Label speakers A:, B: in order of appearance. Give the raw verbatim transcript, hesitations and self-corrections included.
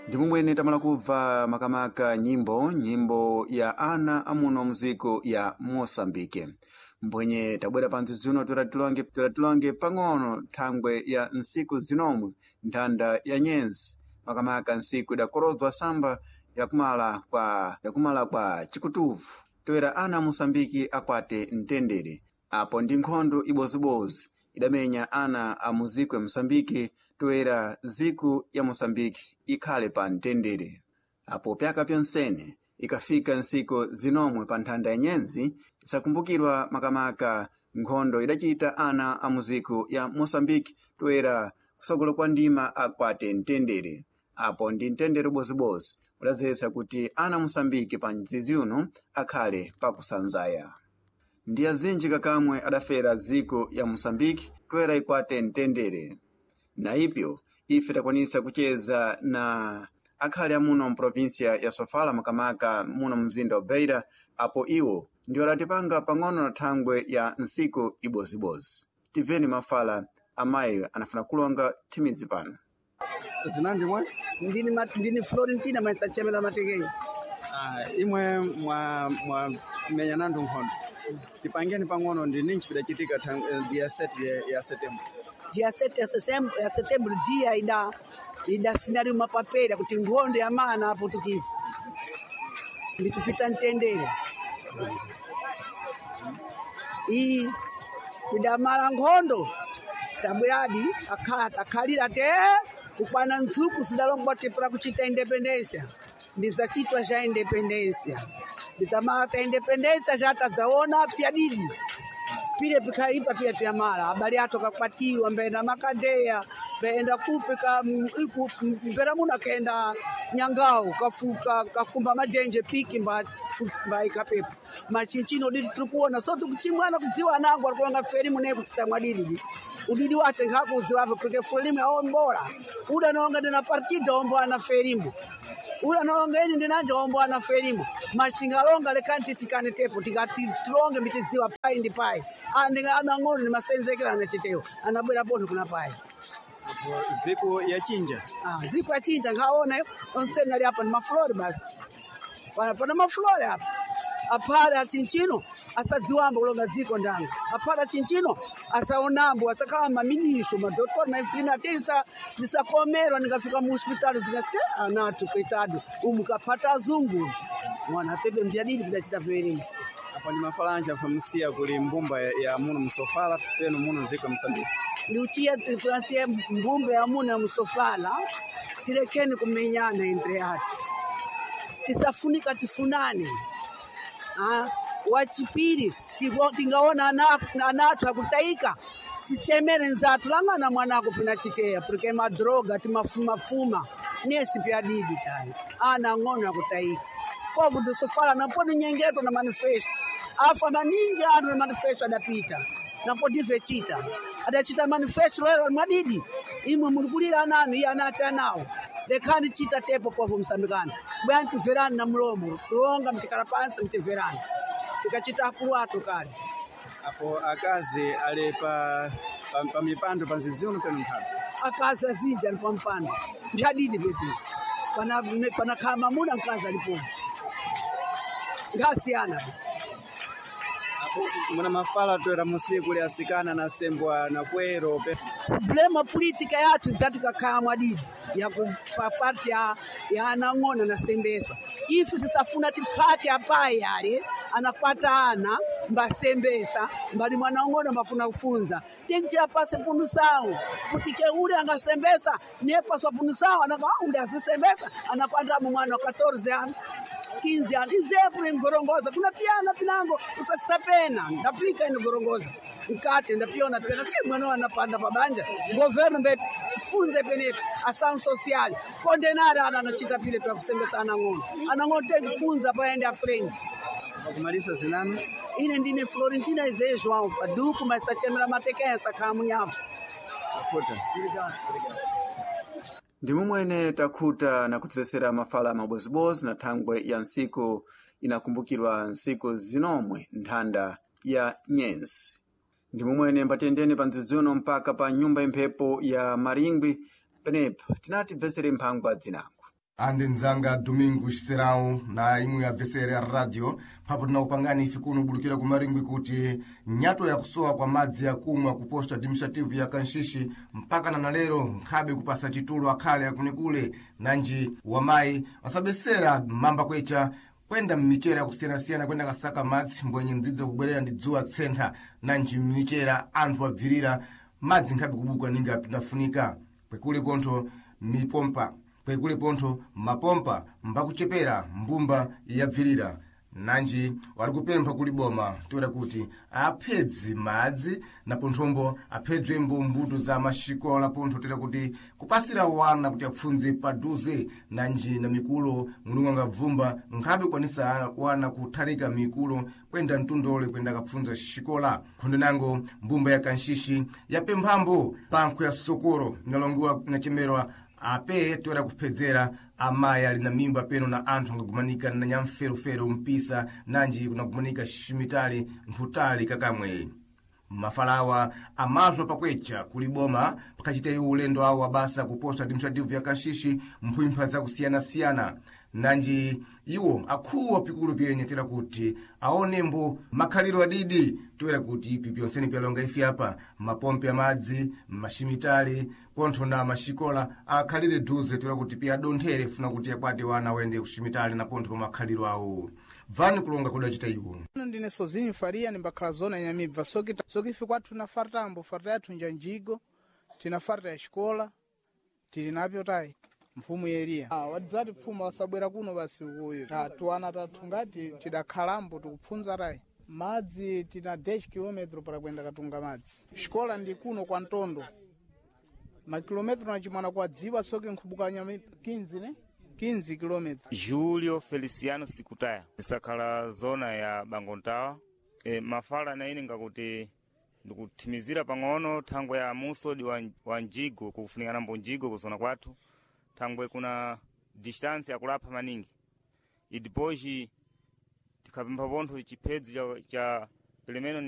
A: Ndimumwene tamala kubva makamaka nyimbo nyimbo ya ana amuno muziko ya Mosambike. Mbwenye tabwera pa ndzidzuno toera tilonge pang'ono thangwe ya ntsiku zinomwe nthanda ya nyenzi makamaka ntsiku idakorodzwa samba yakumala kwa yakumala kwa chikutuvu toera ana a Mosambiki akwate mtendere apo ndi nkhondo ibozibozi idamenya ana a muziko ya Mosambiki toera ziku ya Mosambiki ikhale pa mtendere apo pyaka pyonsene ikafika ntsiku zinomwe pa nthanda ya nyenzi isakumbukirwa makamaka nkhondo idachita ana a muziko ya Mosambiki toera kusogolo kwa ndima akwate mtendere apo ndi mtendere ubozibozi udadzetsa kuti ana a Mosambiki pa mdzidzi uno akhale pakusanzaya. Ndi azinji kakamwe adafera dziko ya Mosambiki toera ikwate mtendere. Na ipyo ife takwanisa kucheza na akhale amuno mprovinsia ya Sofala makamaka muno mzinda wa Beira apo iwo ndiwo adatipanga pang'ono na thangwe ya ntsiku ibozibozi. Timveni mafala amayi anafuna kulonga thimidzi pano.
B: Zinandi mwe?
C: Ndini, ma- ndini Florentina maisachemera matekei.
B: Ah, imwe mwa mwa menya nandu nkhondo tipangeni pang'ono ndi ninchi pidachitika thang- eh, dia seti ya, ya setembro
C: Dia sete ya setembro, ya setembro dia ida idasinali mapapera kuti nkhondo ya mana aputukisi nditupita mtendere iyi tidamala nkhondo tabweradi akhala takhalira te kukwana ntsuku sidalongwa tipura kuchita independencia ndizacitwa ja independencia nditamala ta independencia jatadzaona pyadidi pile pikaipa pile pyamala abale athu akakwatiwa mbenda makadeya mbenda kupi ka m- iku mbera muno akaenda nyangao kafuka kakumba majenje piki mba fu- mbaika pepo machinchino udidi tiri kuona so tikuchimwana kudziwa anango arikulonga ferimu naye kutsita mwadididi udidi wache nkhakudziwavo porque ferimu yaombola uda nonga ndina partida ombo ana ferimu ula nonga ini ndinanja ombo ana ferimu mas tingalonga lekani titikane tepo tikati tilonge mitidziwa pai ndi pai anang'ono ni masenzekera anachiteyo anabwera pono kuna pai
B: Apo ziku ya chinja
C: Ah, dziko achinja nkhaona onseni ali apa ni mafulori basi pana pana mafulori apa aphale achinchino asadziwambo kulonga dziko ndanga aphale achinchino asaonambo asakhala maminisho madotori maifilimi ati ndisakomerwa ndingafika mu hospitali zingati anatu coitado umu kaphata azungu mwana pepe mbyadidi kudachita verini
B: apo ndi mafalanja afamusiya kuli mbumba ya, ya muno msofala peno muno ziko ya Mosambiki
C: ndiuchiya francie mbumbe yamuna ya musofala tilekeni kumenyana entre atu tisafunika tifunane Ah, wachipiri tigo- tingaona ana- anathu akutaika tisemere nzathu lang'ana mwanako pina chiteya porque madroga timafumafuma nesi pyadidi tayo ana ng'ono akutaika povo tisofala napo ninyengeto na manifesto afa maningi anu na manifesto adapita napo divechita adachita manifesto lero mwadidi imwe mulikulira ananu iye anati anawo lekhani chita tepo povo msambikano bwana timverani na mlomo kulonga mtikala pansi mtimverani tikachita akulu athu kale
B: apo akazi ali pa, pa, pa mipando pa nzizi uno peno nkhalo
C: akazi azinji ali pampando mbyadidi pepi pana panakhala mamuna mkazi alipomo ngasiyana
B: apo muna mafala toera musiku kuli asikana na sembwa na kwero pe
C: problema politika yathu idzatikakhala mwadidi yakupapati ya, ya anang'ono nasembesa ife tisafuna tiphate apayi ale anakwata ana mbasembesa mbali mwana ung'ono mbafuna kufunza tinti apase punusawo kuti keule angasembesa niye paswa punusawo anaka "Ah, ule azisembesa anakwandamo mwana wa katorze ano quinze anos exemplo em Gorongosa kuna piana pinango usachita pena ndafika ino Gorongosa mkate ndapiona pena che mwana anapanda pabanja governo mbe funze penepo ação social condenar ana anachita pile pa kusembesa anang'ono anang'ono tem kufunza paende a frente
B: pakumalisa zinanu
C: ine ndine Florentina Izé João Faduco mas sachemera matekensa khamunyavu
B: kuta
A: Ndi mumwene takhuta na kutisesera mafala mabozibozi na thangwe ya ntsiku inakumbukirwa ntsiku zinomwe nthanda ya nyenzi. Ndi mumwene mbatendeni pa ndzidzuno mpaka pa nyumba imphepo ya Maringwi penepa tinati bvesere mphangwa dzinango.
D: Andi nzanga Domingo Serão na imwe ya V C R ya radio papo tinakupangani ife kuno bulukira kumaringwi kuti nyato yakusowa kwa madzi yakumwa ku posto administrative ya Kanshishi mpaka na lero nkhabe kupasa chitulo akhale akunekule, nanji wamayi wasabesera mamba kwecha kwenda mmichera yakusiyanasiyana kwenda kasaka madzi mbwenye mdzidza kubwerera ndi dzuwa tsentha, nanji mmichera anthu abvirira madzi nkhabe kubuka ninga pinafunika kwekule pontho mipompa kwekule pontho mapompa mbakuchepera mbumba yabvirira. Nanji wali kupempha kuli boma toera kuti aphedzi madzi na ponthombo aphedzwembo mbuto za maxikola pontho toera kuti kupasira wana kuti apfundze paduze, nanji na mikulo mulungu angabvumba nkhabe kukwanisa wana kuthalika mikulo kwenda mtundole kwenda akapfundza xikola. Khondo nango mbumba ya Kanshishi yapemphambo pankho ya sokoro inalongiwa inachemerwa ape toera kuphedzera amayi ali na mimba peno na anthu angagumanika na nyamferofero mpisa, nanji kunagumanika ximitali nthutali kakamwe. Mafalawa amazwa pakwecha kuli boma pakachita iwo ulendo awo wabasa ku posto administrative ya Kanshishi mphimpha zakusiyanasiyana, nanji iwo akhuwa pikulu pyenye tera kuti aonembo makhaliro adidi toera kuti ipi pyonseni pyalonga ifi apa mapompe amadzi, maximitali pontho na maxikola akhalire duze toera kuti piyadonthere funa kuti akwate wana awende kuximitali na pontho pa makhaliro awo. Bvani kulonga kudacita iwo.
E: Ndine Sozinho Faria, nimbakhala zona Nyamibva. Soki soki ife kwathu na fartambo farta yathu njanjigo, tina farta ya xikola tili napyo tayi mfumu yeriya. Ah, wadzati pfuma wasabwera kuno basi ukuyo. Ah, tuwana tathu ngati tidakhalambo tikupfunza tayi madzi tina dez kilometro para kwenda katunga madzi. Xikola ndi kuno kwa Ntondo makilometro nachimwana kwa dziwa soki nkhubukanya quinze ne quinze kilometro.
F: Julio Feliciano Sikutaya, isakhala zona ya Bangontawa. E, mafala na ine ngakuti ndikuthimizira pang'ono thangwe ya musodi wa, wa njigo kufunikana mbo njigo kuzona kwathu thangwe kuna distance yakulapha maningi idipoji tikhapempha pontho chiphedzi cha, cha pelemeno.